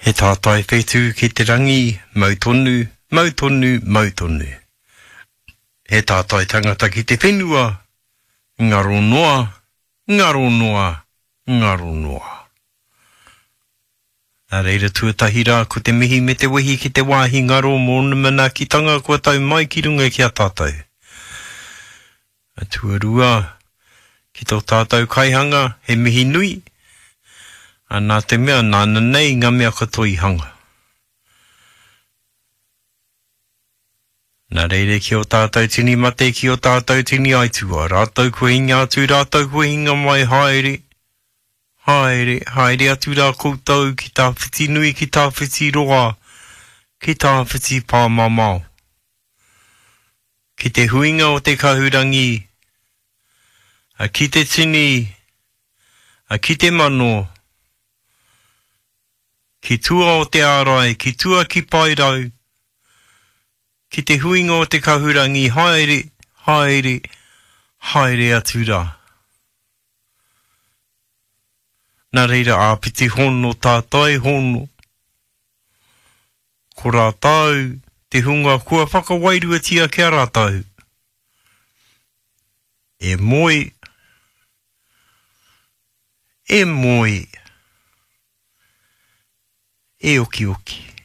He tātai whetū ki te rangi, mau tonu, mau tonu, mau tonu. He tātai tangata ki te whenua, ngaro noa, ngaro noa, ngaro noa. Nā reira tuatahi rā ko te mihi me te wehi ki te wāhi ngaro mō ōna manaakitanga kua tau mai ki runga ki a tātou. Tuarua, ki tō tātou kaihanga, he mihi nui, ā, nā te mea nāna nei ngā mea katoa i hanga. Nā reira ki ō tātou tini mate, ki ō tātou tini aituā, rātou kua hinga atu, rātou kua hinga mai, haere, Haere, haere atu rā koutou ki tawhiti nui, ki tawhiti roa, ki tawhiti pāmamao. Ki te huinga o te kahurangi, a ki te tini, a ki te mano, ki tua o te ārai, ki tua ki Paerau, ki te huinga o te kahurangi, haere, haere, haere atu rā. Nā reira āpiti hono tātai hono, ko rātou te hunga kua whakawairuatia ki a rātou, e moe, e moe, e okioki.